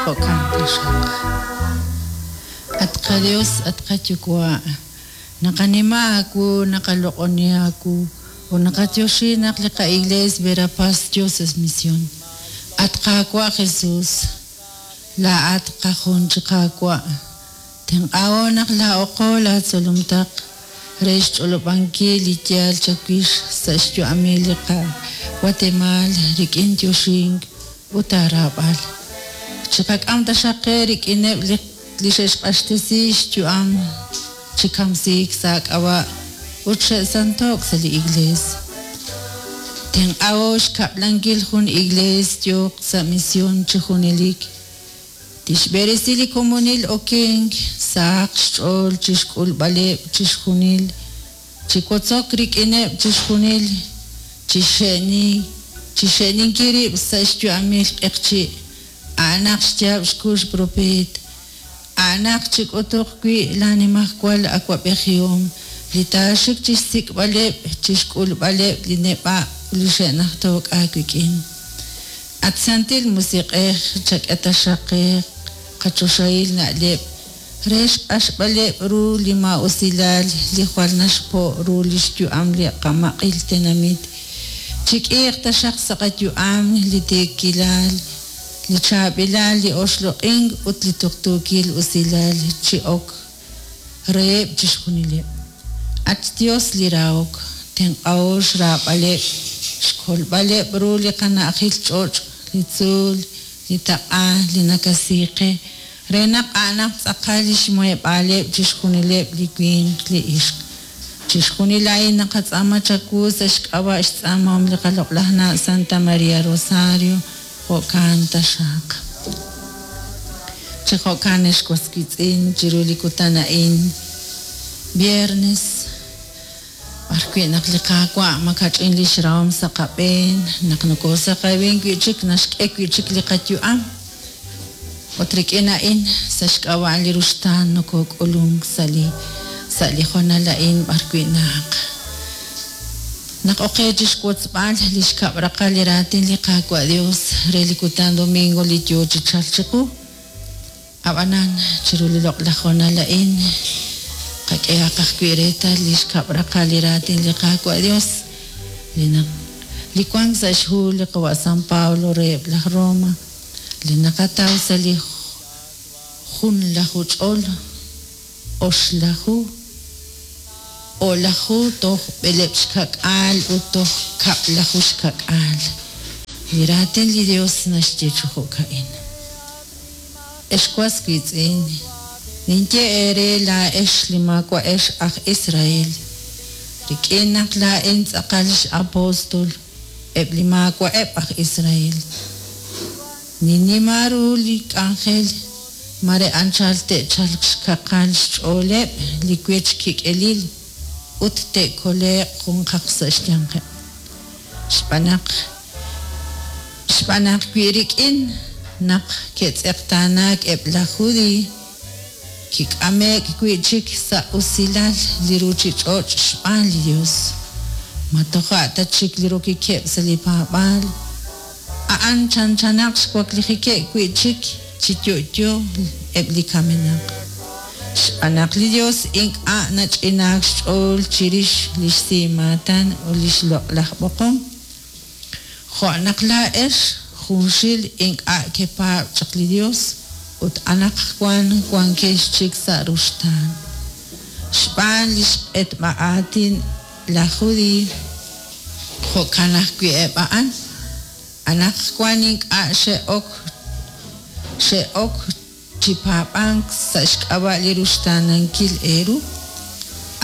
Jo'kan taxaq. At qaYos, at qaYuwa', naqanima aawu, naqaloq'oni aawu, ut naqatyoxi naq li qaIglees Verapaz Dios es Misión. At Qaawa' Jesus, laa'at qajun chi Qaawa', tenq'aho naq laa'oqo laatzolom taq re xch'olob'ankil li yaal chawix sa' xyu'amil li qaWatemaal rik'in yoxink ut aaraab'al. Chiqak'am taxaq qe rik'ineb' li xe'xq'axtesi xyu'am chi kamsiik sa' aak'ab'a' ut xe'santo'k sa' li Iglees. Tenq'aho xkab'lankil jun Iglees yooq sa' mision chi junelik, tixb'eresi li komonil okenk, sahaq xch'ool chi xk'ulb'aleb' chixjunil, chi wotzok rik'ineb' chixjunil, chi xxe'ninkil rib' sa' xyu'amil q'eqchi', a'anaq xyaab' xkux propeet, a'anaq chik'utuq wi' laanimajwal awab'ejihom li taaxik chi xsik'b'aleb' chi xk'ulb'aleb' li neb'a' ut li xe'najto'k aawik'in. At Santil Musiq'ej, chak'e taxaq qe qachoxahil na'leb' re xq'axb'aleb' ru li maa'usilal li jwal naxpo' ru li xyu'am li qamaq'il tenamit. Chik'iiq taxaq sa' qayu'am li tiikilal, li chaab'ilal, li oxloq'ink ut li tuqtuukil usilal chi ok reheb' chixjunileb'. At xYos li rahok, tenq'aho xraab'aleb', xkolb'aleb' ru li qana'ajil ch'och', li tzuul, li taq'a, li nakasi qe, re naq a'anaq tz'aqal li xmuheb'aaleb' chixjunileb' li winq, li ixq. Chixjunil a'in naqatz'aama chawu sa' xk'ab'a' xtz'aamahom li qaloq'laj na' Santa María Rosario, jo'kan taxaq. Chi jo'kan ex was wiitz'in chiru li kutan a'in, viernes, b'ar wi' naq li Qaawa' makach'in lix rahom sa' qab'een, naq nokosaqewin wi'chik naxk'e wi'chik li qayu'am, ut rik'in a'in sa' xk'ab'a' li ruxtaan nokok'ulunk sa' li sa' li hoonal a'in b'ar wi' naq naq ok qe chixwotzb'al li xkab' raqal li raatin li Qaawa' Dios re li kutan domingo li yoo chi chalk chiqu. Ab'anan, chiru li loq'laj hoonal a'in, qak'ehaq ajwi' reetal li xkab' raqal li raatin li Qaawa' Dios, li naq li wank sa' xhu li qawa' San Pablo reheb' laj Roma, li naqataw sa' li junlaju ch'ol oxlaju, o'laju toj b'eleb' xka'k'aal ut toj kab'laju xka'k'aal. Li raatin li Dios naxye chi jo'ka'in. Ex was wiitz'in, ninye eere laa'ex li maawa'ex aj Israel, rik'in naq laa'in tz'aqal x'apóstol eb' li maawa'eb' aj Israel, ninnima ru li k'anjel mare anchal te'chalq xkaqal xch'ooleb' li wech kik'elil ut te'kole'q junqaq sa' xyanqeb'. Xb'aan naq xb'aan naq wi rik'in naq ke'tz'eqtaanaak eb' laj Judiiy, kik'ame'k wi' chik sa' usilal li ruuchich'och' xb'aan li Yos, ma toja' ta chik li rokikeb' sa' li paab'aal, a'an chanchanaq xwaklijikeb' wi' chik chi yo'yo eb' li kamenaq. Xb'aan naq li Yos ink'a' nach'inaak xch'ool chirix li xsimaatan ut li xloq'laj b'oqom, jo' naq laa'ex junxil ink'a' kepaab' chaq li Yos ut anaqwan wankex chik sa' ruxtaan. Xb'aan li xq'etb'a aatin laj Judiiy, jo'kan ajwi' eb' a'an, anaqwan ink'a' xe'ok xe'ok chi paab'ank sa' xk'ab'a' li ruxtaanankil eeru,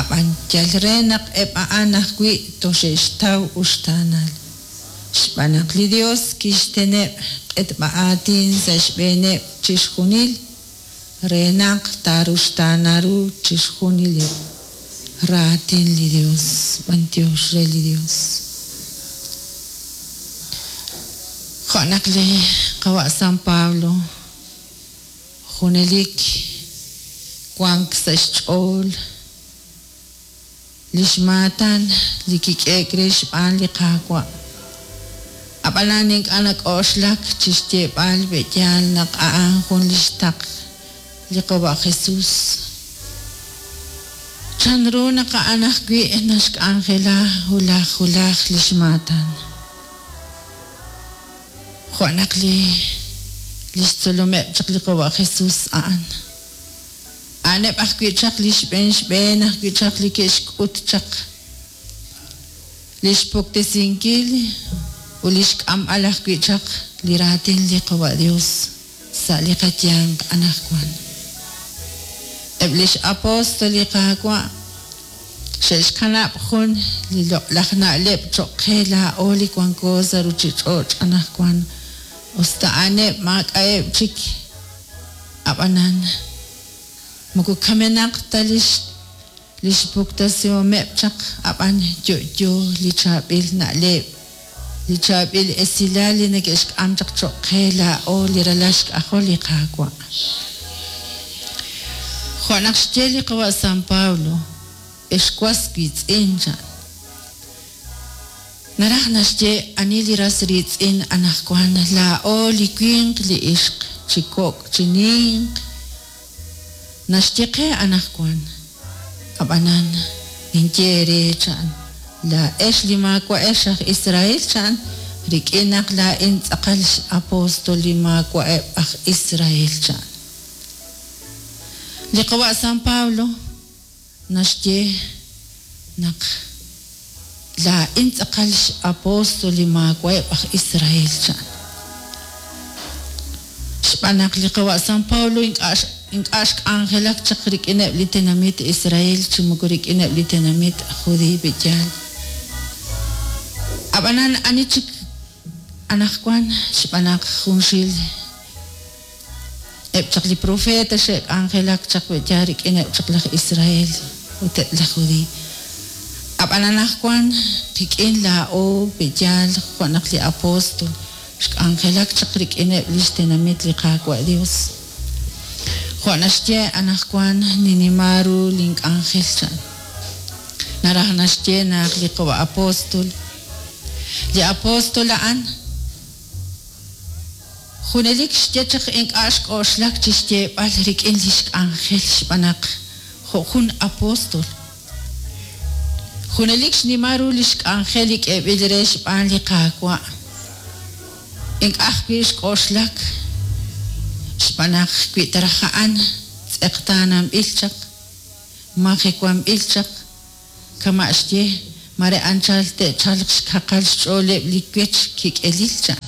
ab'an yal re naq eb' a'an ajwi' toxe'xtaw uxtaanal. Xb'aan naq li Yos kixteneb' q'etb'a aatin sa' xb'eeneb' chixjunil re naq taaruxtaana ru chixjunileb'. Raatin li Yos, b'anyox re li Yos. Jo' naq li qawa' San Pablo junelik wank sa' xch'ool li xmaatan li kik'e'k re xb'aan li Qaawa'. Ab'anan ink'a' nak'oxlak chi xyeeb'al pe'yaal naq a'an jun li xtaql li Qawa' Jesus. Chanru naq a'an ajwi' naxk'anjela wulaj wulaj li xmaatan? Jo' naq li li xtzolomeb' chaq li Qawa' Jesus a'an. A'aneb' ajwi' chaq li xb'een xb'een ajwi' chaq li ke'xk'ut chaq li xpuktesinkil ut li xk'amb'al ajwi' chaq li raatin li Qawa' Dios sa' li qayanq anaqwan. Eb' li x'apóstol li Qaawa' xe'xkanab' jun li loq'laj na'leb' cho'q qe laa'o li wanko sa' ruuchich'och' anaqwan, usta a'aneb' maak'a'eb' chik, ab'anan moko kamenaq ta li li xpuktasihomeb' chaq, ab'an yo'yo li chaab'il na'leb', li chaab'il esilal li neke'xk'am chaq cho'q qe laa'o li ralal xk'ajol li Qaawa'. Jo' naq xye li Qawa' San Pablo, Ex was wiitz'in, chan. Naraj naxye ani li ras riitz'in anaqwan laa'o li winq li ixq, chi kok' chi ninq, Naxye qe anaqwan, Ab'anan, ninye eere, chan, laa'ex li maawa'ex aj Israel, chan, rik'in naq laa'in tz'aqal x'apóstol li maawa'eb' aj Israel, chan. Li qawa' San Pablo naxye naq laa'in tz'aqal x'apóstol li maawa'eb' aj Israel, chan. Xb'aan naq li qawa' San Pablo ink'a' ink'a' xk'anjelak chaq rik'ineb' li tenamit Israel chi moko rik'ineb' li tenamit aj Judiiy pe'yaal. Ab'anan ani chik anaqwan xb'aan naq junxil Eb' chaq li propeet xe'k'anjelak chaq we'yaal rik'ineb' chaq laj Israel ut eb' laj Judiiy. Ab'an anaqwan qik'in laa'o pe'yaal jo' naq li apóstol xk'anjelak chaq rik'ineb' li xtenamit li Qaawa' Yos. Jo' naxye anaqwan ninnima ru link'anjel chan. Naraj naxye naq li qawa' apóstol, li apóstol a'an, Junelik xye chaq ink'a' xk'oxlak chi xyeeb'al rik'in li xk'anjel xb'aan naq jo' jun apóstol. Junelik xnima ru li xk'anjel li k'eeb'il re xb'aan li Qaawa'. Ink'a' ajwi' xk'oxlak xb'aan naq wi ta raj a'an tz'eqtaananb'il chaq, majewanb'il chaq, Kama' xye, mare anchal te'chalq xkaqal xch'ooleb' li wech kik'elil, chan.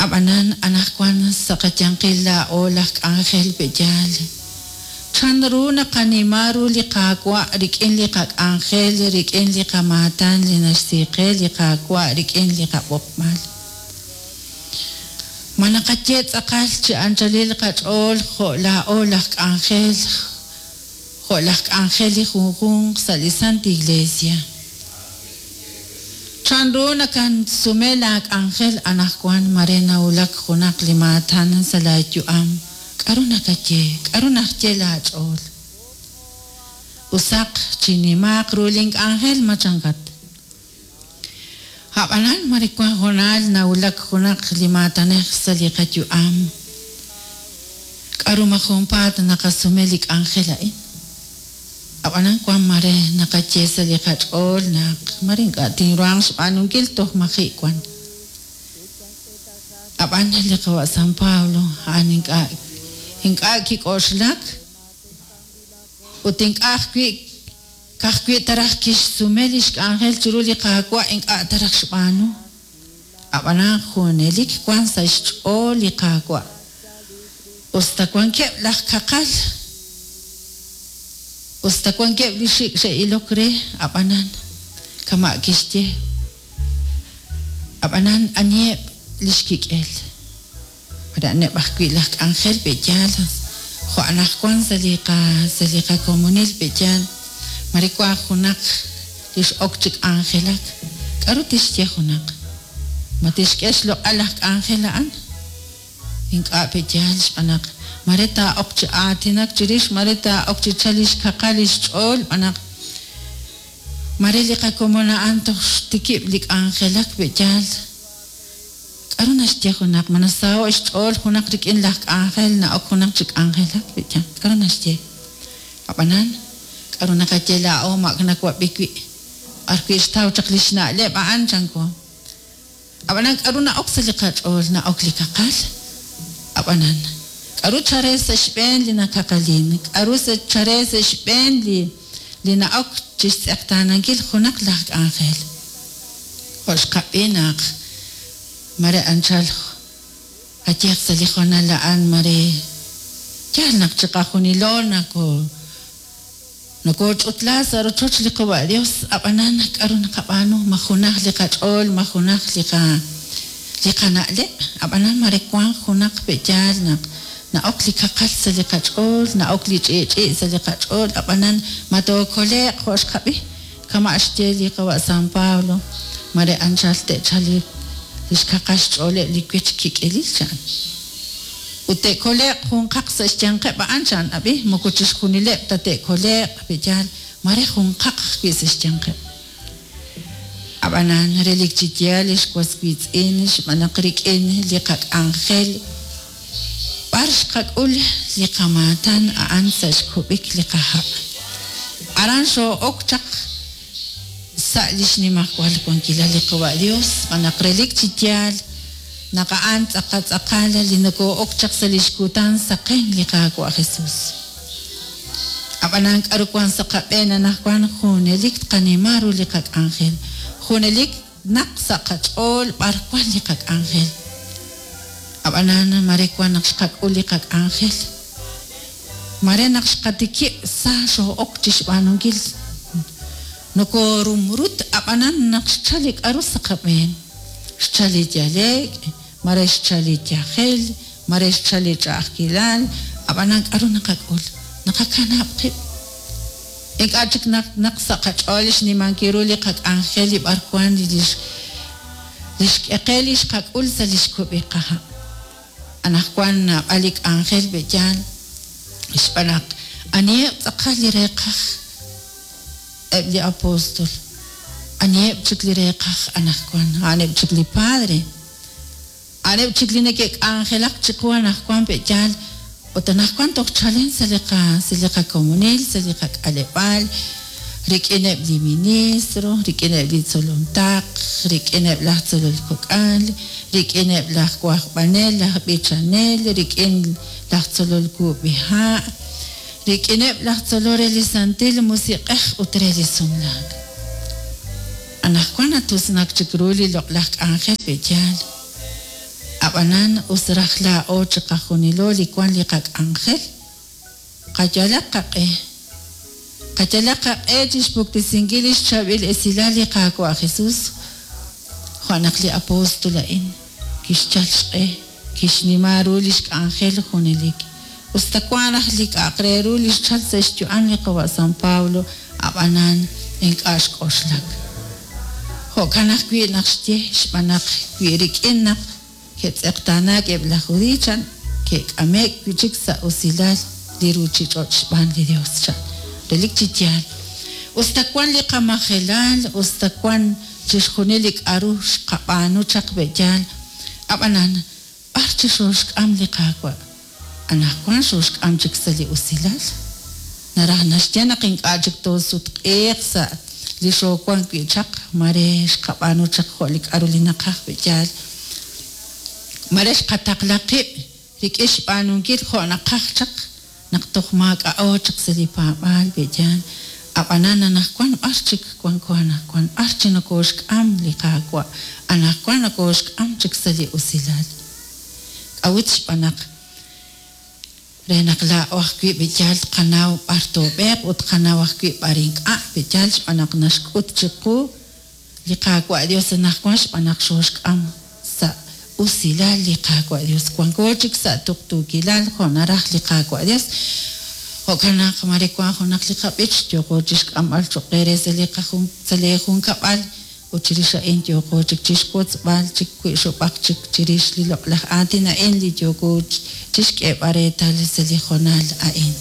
Ab'anan anaqwan sa' qayanqil laa'o laj k'anjel pe'yaal. Chan ru naqanima ru li Qaawa' rik'in li qak'anjel, rik'in li qamaatan li naxsi qe li Qaawa' rik'in li qab'oqb'al? Ma naqaye tz'aqal chi anchalil qach'ool jo' laa'o laj k'anjel, jo' laj k'anjel li junjunq sa' li Sant Iglesia. Chan ru nakasume laa k'anjel anajwan mare nawulak junaq li maatan sa' laa yu'am? K'a'ru nakaye? K'a'ru naxye laa ch'ool? Usaq, chinnimaaq ru lin k'anjel, ma chankat? A'b'anan, mare wan hoonal nawulak junaq li maatanej sa' li qayu'am. K'a'ru ma junpaat naqasume li k'anjel a'in? A'b'anan wan mare naqaye sa' li qach'ool naq mare ink'a' tinruhanq xb'aanunkil toj maji' wan. A'b'an li qawa' San Pablo a'an ink'a' ink'a' kik'oxlak ut ink'a' ajwi' Ka'ajwi' ta raj kixsume li xk'anjel chiru li Qaawa' ink'a' ta raj xb'aanu. Ab'anan junelik wank sa' xch'ool li Qaawa'. Us ta wankeb' laj kaqal, us ta wankeb' li xik' xe'ilok re, ab'anan, kama' kixye, ab'anan aniheb' li xkik'el? Mare a'aneb' ajwi' laj k'anjel pe'yaal jo' anaqwan sa' li qa sa' li qakomonil pe'yaal mare wank junaq li x'ok chi k'anjelak, k'aru tixye junaq? Ma tixk'e xloq'al laj k'anjel a'an? Ink'a' pe'yaal xb'aan naq mare taa'ok chi aatinak chirix, mare taa'ok chi chal li xkaqal li xch'ool xb'aan naq. Mare li qakomon a'an toj xtikib' li k'anjelak pe'yaal. K'aru naxye junaq? Ma nasaho'k xch'ool junaq rik'in laj k'anjel na'ok junaq chi k'anjelak pe'yaal? K'aru naxye? Ab'anan, k'aru naqaye laa'o ma ak nawab'i wi' b'arwi' xtaw chaq li xna'leb' a'an chanko. Ab'anan k'aru na'ok sa' li qach'ool? Na'ok li kaqal. Ab'anan, k'aru chare sa' xb'een li nakaqalin? K'aru chare sa' xb'een li li na'ok chi xtz'eqtaanankil junaq laj k'anjel? Jo' xqab'i naq mare anchal qayehaq sa' li hoonal a'an mare yaal naq chiqajunilo nako Nokooch'utla sa' rochoch li Qawa' Dios, ab'anan k'aru naqab'aanu? Ma junaj li qach'ool, ma junaj li qa li qana'leb'? Ab'anan mare wanq junaq pe'yaal naq na'ok li kaqal sa' li qach'ool, na'ok li ch'i'ch'i' sa' li qach'ool, ab'anan ma tookole'q jo' xqab'i? Kama' xye li Qawa' San Pablo, mare anchal te'chalq li xkaqal xch'ooleb' li wech kik'elil, chan. Ut te'kole'q junqaq sa' xyanqeb' a'an, chan. Ab'i, moko chixjunileb' ta te'kole'q, pe'yaal, mare junqaq ajwi' sa' xyanqeb'. Ab'anan, relik chi yaal, ex was wiitz'in, xb'aan naq rik'in li qak'anjel b'ar xqak'ul li qamaatan a'an sa' xkub'ik li qaha'. Aran xoo'ok chaq sa' li xnimajwal wankilal li Qawa' Dios, xb'aan naq relik chi yaal naq a'an tz'aqal tz'aqal li nokoo'ok chaq sa' li xkutan saqen li Qaawa' Jesus. Ab'anan k'aru wank sa' qab'een anaqwan junelik tqanima ru li qak'anjel, junelik naq sa' qach'ool b'ar wank li qak'anjel. Ab'anan mare wank naq xqak'ul li qak'anjel, mare naq xqatikib' sa xoo'ok chi xb'aanunkil nokoorumrut ab'anan naq xchal li k'aru sa' qab'een, xchal li yale'k, mare xchal li yajel, Mare xchal li ch'a'ajkilal, ab'anan k'aru naqak'ul? Naqakanab' qib'. Ink'a' chik naq naq sa' qach'ool xnimankil ru li qak'anjel li b'arwan li xk'e qe li xqak'ul sa' li xkub'ik qaha'. Anaqwan naab'al li k'anjel pe'yaal xb'aan naq aniheb' tz'aqal li reeqaj eb' li apóstol? Aniheb' chik li reeqaj anaqwan? A'aneb' chik li padre. A'aneb' chik li neke'k'anjelak chiqu anajwan pe'yaal ut anajwan toj chalen sa' li qa sa' li qakomonil, sa' li qak'aleb'aal, rik'ineb' li ministro, rik'ineb' li tzolom taql, rik'ineb' laj tzolol kok'al, rik'ineb' laj wajb'anel, laj b'ichanel, rik'in laj tzolol kub'iha', rik'ineb' laj tzolol re li Santil Musiq'ej ut re li sumlaak. Anaqwan natusnak chik ru li loq'laj k'anjel pe'yaal. Ab'anan us raj laa'o chiqajunilo li wank li qak'anjel, qayalaq qaq'e. Qayalaq qaq'e chi xpuktesinkil li xchaab'il esilal li Qaawa' Jesus, jo' naq li apóstol a'in kixyal xq'e, kixnima ru li xk'anjel junelik. Us ta wank raj li k'a'aq re ru li xchalk sa' xyu'am li qawa' San Pablo, ab'anan ink'a' xk'oxlak. Jo'kan ajwi' naq xye, xb'aan naq wi rik'in naq ke'tz'eqtaanaak eb' laj Judiiy, chan, ke'k'ame'k wi' chik sa' usilal li ruuchich'och' xb'aan li Yos, chan. Relik chi yaal, us ta wank li qamajelal, us ta wank chixjunil li k'aru xqab'aanu chaq pe'yaal, ab'anan B'ar chi xooxk'am li Qaawa'? Anaqwan xooxk'am chik sa' li usilal. Naraj naxye naq ink'a' chik toosutq'iiq sa' li xoowank wi' chaq, mare xqab'aanu chaq jo' li k'aru li naqaj pe'yaal. Mare xqataqla qib' rik'in xb'aanunkil jo' naqaj chaq Naq toj maak'a'o chaq sa' li paab'aal, pe'yaal? A'b'anan anajwan b'ar chik wanko anajwan? B'ar chi nokooxk'am li Qaawa'? Anajwan nokooxk'am chik sa' li usilal. K'a'ut? Xb'aan naq re naq laa'o ajwi' pe'yaal tqanaw b'ar toob'eeq ut tqanaw ajwi' b'ar ink'a', pe'yaal? Xb'aan naq naxk'ut chiqu Li Qaawa' Dios anaqwan xb'aan naq xooxk'am sa' usilal li Qaawa' Dios. Wanko chik sa' tuqtuukilal jo' naraj li Qaawa' Dios. Jo'kan naq mare wank junaq li qab'ich yooqo chixk'amb'al choq' eere sa' li qajun sa' lee junkab'al ut chirix a'in yooqo chik chixwotzb'al chik wi' xub'aq chik chirix li loq'laj aatin a'in li yooko chixk'eeb'al reetal sa' li hoonal a'in.